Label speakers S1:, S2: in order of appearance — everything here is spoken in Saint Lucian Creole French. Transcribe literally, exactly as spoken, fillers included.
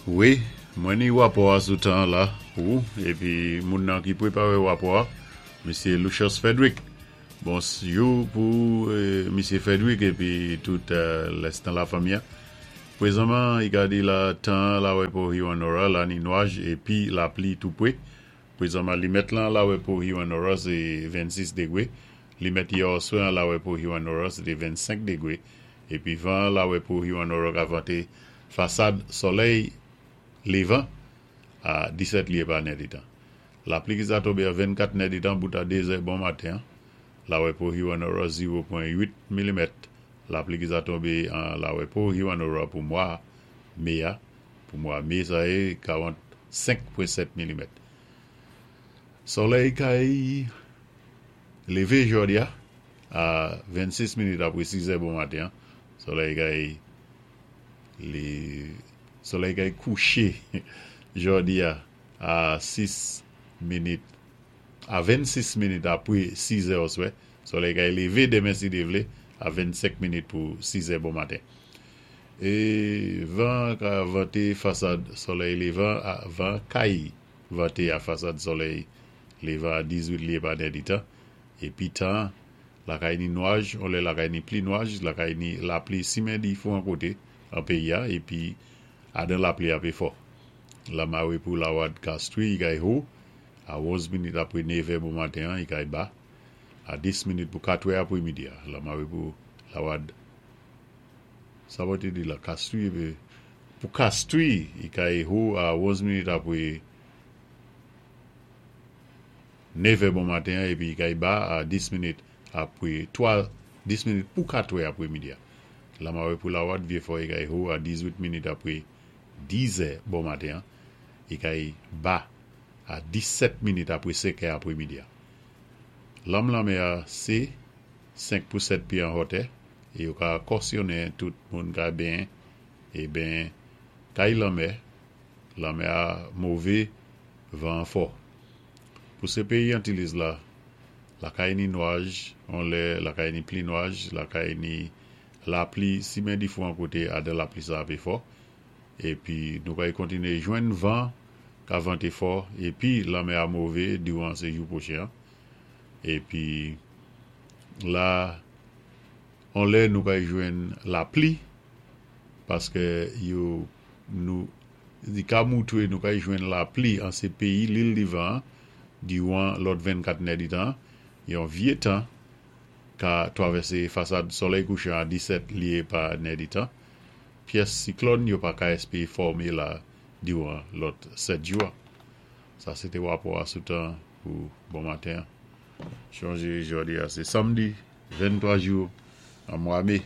S1: Wi, mwen ni wapò a sou tan la pou épi moun nan ki pwépawé wapò a, Misyé Lucius Frederick. Bonjou pou euh, Misyé Frederick épi tout euh, lèstan la fanmi. Pwézanman, i ka di la tan la wè pou Hewanorra, la ni nwaj épi lapli tou pwé. Pwézanman, limèt lan la wè pou Hewanorra, sé vennsis dégwé. Limèt yè oswè la wè pou Hewanorra, sé vennsenk dégwé. Épi van la wè pou Hewanorra ka vanté fasad solèy lévan a disèt lyé pa nèditan. Lapli ki sa tonbé a vennkat nèditan bout a dézè bon maten. La wè pou Hewanorra zewo pwen uit milimèt. Lapli ki sa tonbé an la wè pou Hewanorra pou mwa mé a. Pou mwa mé sa yé karannsenk pwen sèt milimèt. Solèy kay lévé jòdi a a vennsis minit apwé sis è bon maten. Solèy kay li solèy kay kouché jòdi a a sis minit a vennsis minit apwé sis è oswè. Solèy kay lévé démen si Dye vlé a vennsenk minit pou sis è bon maten. É van ka vanté fasad solèy lévan, van kay vanté a fasad solèy lévan a dizuit lyé pa nèditan. Épi tan la kay ni nwaj, on lè la kay ni pli nwaj, la kay ni lapli simen difwan koté an péyi a épi adan lapli apé fò. Lamawé pou lawad Castries, i kay ho a onz minit apwé nevè bon maten, i kay ba a dis minit pou katwè apwé midi. Lamawé pou lawad sa va té di la Castries pou Castries, i kay ho a onz minit apwé nevè bon maten épi i kay ba a dis minit apwé twa dis minit pou katwè apwé midi. Lamawé pou lawad Vyé-Fò, i kay ho a dizuit minit apwé dizè bon maten, i kay ba a disèt minit apwé senkè apwé midi. Lanm lanmè a sé senk pou sèt pyé an wotè é yo ka kòsyonnen tout moun ka benyen é ben kay lanmè lanmè a mové, van fò. Pou sé péyi Antilles la, la kay ni nwaj, on lè la kay ni pli nwaj, la kay ni lapli simen difwan koté adan lapli sa apé fò. Épi nou kay kontiné jwenn van ka vanté fò épi lanmè a mové diwan sé jou pwochen. Épi la on lè nou kay jwenn lapli paské yo nou di ka moutwé nou kay jwenn lapli an sé péyi Lil Divan diwan lòt vennkat nèditan yon vyé tan ka twavèsé fasad solèy kouchan a disèt lyé pa nèditan. Pyès siklòn yo pa ka èspéwé fòmé la diwan lòt sèt jou. Sa sé té wapò a sou tan pou bon maten. Chonjé jòdi a sé samdi venntwa jou an mwa mé.